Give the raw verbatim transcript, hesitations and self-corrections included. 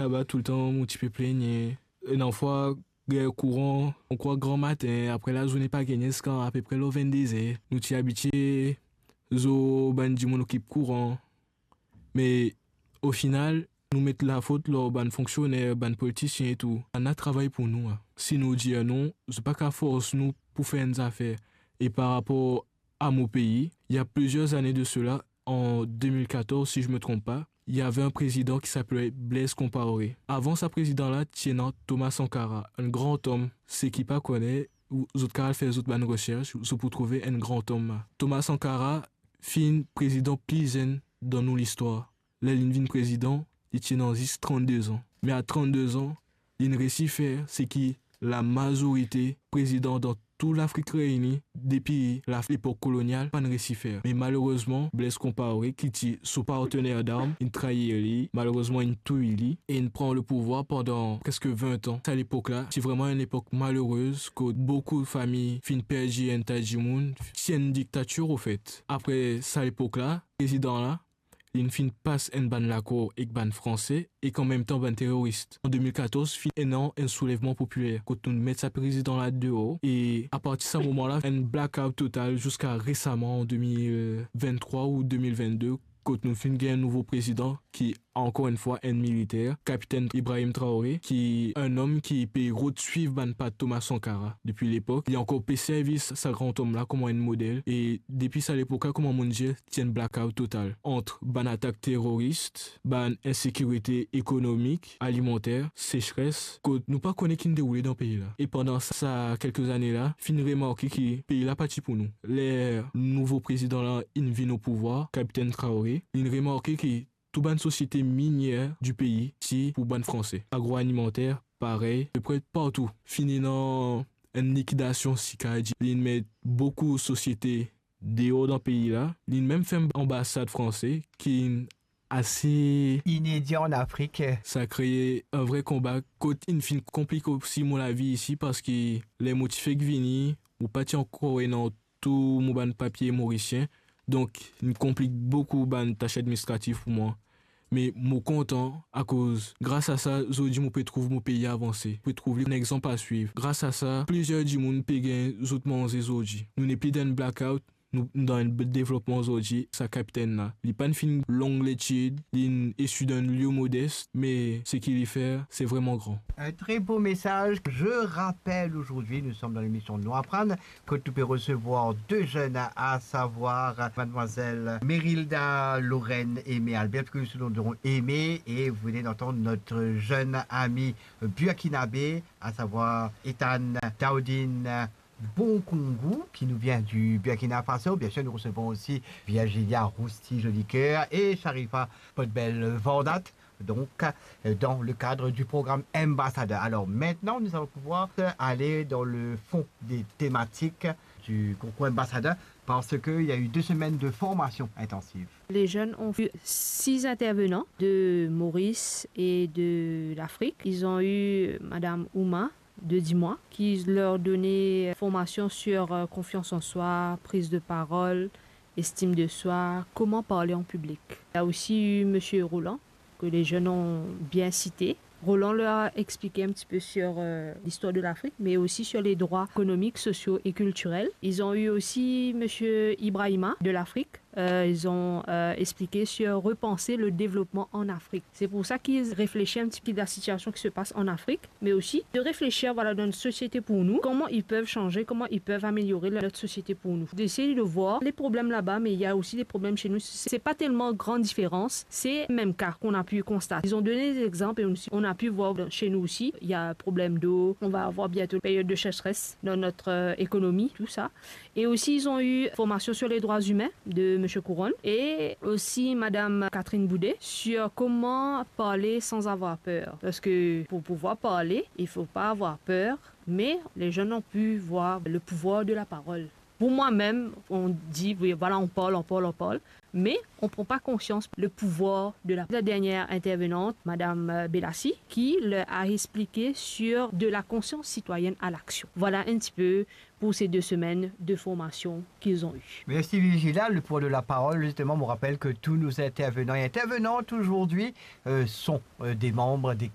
Laba toultan mo ti pe plengne. Ena fwa, gagn kouran, mo krwar gramatin, apre lazourne pa gagn ziska apepre lor vennde zer. Nou ti abitie zor bann dimoun okip kouran. Me ofinal, nou met lafot lor bann fonksioner, bann politisien e tou. Bann la travay pou nou, a. Si nou dir non, zot pa kav fors nou pou fer enn zafer. E par rapor à mon pays, il y a plusieurs années de cela, en deux mille quatorze, si je me trompe pas, il y avait un président qui s'appelait Blaise Compaoré. Avan sa prezidan la, ti ena Thomas Sankara, enn gran om. Seki pa kone, ou zot kav al fer zot bann resers, zot pou trouve enn gran om la. Thomas Sankara finn prezidan pli zenn dan nou listwar. Ler linn vinn prezidan, li ti ena zis trannde zan. Me a trannde zan, linn resi fer seki lamazorite prezidan dan tou Lafrik Reyini depi la, lepok kolonial, pa'nn resi fer. Me malerezman, Blaise Compaoré, ki ti so partner darm, inn trayir li, malerezman, inn touy li, e inn pran lepouvwar pandan preske vin an. Sa lepok la, ti vreman enn lepok malerez, kot boukou fami finn perdi enn ta dimoun. Ti enn diktatir, ofet. Apre sa lepok la, prezidan la, linn finn pas enn bann lakor ek bann Franse ek anmemtan bann teroris. An de mil katorz, finn ena enn soulevman popiler, kot nou met sa prezidan la deor, e apartir sa moman la, enn blackout total ziska resaman, an de mil vinn-trwa ou de mil vinn-de, kot nou finn gagn enn nouvo prezidan ki, ankor enn fwa, enn militer, Kapitenn Ibrahim Traoré, ki enn om ki pe rod swiv bann pa Thomas Sankara depi lepok. Li ankor pe servi sa gran om la kouma enn model, e depi sa lepok la, kouma mo'nn dir, ti enn blackout total ant bann atak teroris, bann insekirite ekonomik, alimanter, sesres, kot nou pa kone ki'nn deroule dan pei la. E pandan sa kelke zane la, finn remarke ki pei la pa ti pou nou. Ler nouvo prezidan la inn vinn o pouvwar, Kapitenn Traoré, linn remarke ki tou bann sosiete minier di pei ti pou bann Franse. Agroalimanter, parey, apepre partou. Finn ena enn likidasion, si kav dir. Linn met boukou sosiete deor dan pei la. Linn mem ferm anbasad Franse, ki inn ase inedi an Afrik. Sa kree enn vre konba kot inn finn konplik osi mo lavi isi, parski ler mo ti fek vini, mo pa ti ankor ena tou mo bann papie morisien, donk, inn konplik boukou bann tas administratif pou mwa. Me mo kontan, akoz gras a sa, zordi mo pe trouv mo pei avanse, pe trouv li enn exanp a swiv. Gras a sa, plizier dimoun pe gagn zot manze zordi. Nou nepli dan enn blackout, nou dan enn devlopman zordi. Sa kapitenn la, li pa'nn finn long letid, linn isi dan enn lie modes, me seki li fer, se vreman gran. Un très beau message. Je rappelle aujourd'hui, nous sommes dans l'émission Nou Aprann, kot nou pe resevwar de zenn, à savoir mademoiselle Merilda Lorraine Aimé Albert, plus connue sous le nom de Aimé, et vous venez d'entendre notre jeune ami burkinabé, à savoir Ethan Taudine Bonkongu, qui nous vient du Burkina Faso. Bien sûr, nous recevons aussi Virgilia Rousti Jolicoeur et Sharifa Potbel Vandat, donc, euh, dans le cadre du programme Ambassadeur. Alors maintenant, nous allons pouvoir, euh, aller dans le fond des thématiques du concours Ambassadeur, parce qu'il y a eu deux semaines de formation intensive. Les jeunes ont vu six intervenants de Maurice et de l'Afrique. Ils ont eu Madame Ouma de dix mois, qui leur donnait formation sur, euh, confiance en soi, prise de parole, estime de soi, comment parler en public. Il y a aussi eu Monsieur Roland, que les jeunes ont bien cité. Roland leur a expliqué un petit peu sur, euh, l'histoire de l'Afrique, mais aussi sur les droits économiques, sociaux et culturels. Ils ont eu aussi Monsieur Ibrahima de l'Afrique. Euh, ils ont, euh, expliqué sur repenser le développement en Afrique. C'est pour ça qu'ils réfléchissent un petit peu à la situation qui se passe en Afrique, mais aussi de réfléchir, voilà, dans une société pour nous, comment ils peuvent changer, comment ils peuvent améliorer notre société pour nous. D'essayer de voir les problèmes là-bas, mais il y a aussi des problèmes chez nous. C'est pas tellement grande différence, c'est le même cas qu'on a pu constater. Ils ont donné des exemples et aussi, on a pu voir dans, chez nous aussi, il y a problème d'eau, on va avoir bientôt période de sécheresse dans notre, euh, économie, tout ça. Et aussi, ils ont eu formation sur les droits humains de Monsieur Couronne et aussi Madame Catherine Boudet sur comment parler sans avoir peur. Parce que pour pouvoir parler, il faut pas avoir peur, mais les jeunes ont pu voir le pouvoir de la parole. Pour moi-même, on dit, oui, voilà, on parle, on parle, on parle, mais on prend pas conscience le pouvoir de la, la dernière intervenante, Madame, euh, Bellassi, qui leur a expliqué sur de la conscience citoyenne à l'action. Voilà un petit peu pour ces deux semaines de formation qu'ils ont eu. Merci Virgilia. Le pouvoir de la parole, justement, on rappelle que tous nos intervenants et intervenantes aujourd'hui, euh, sont, euh, des membres des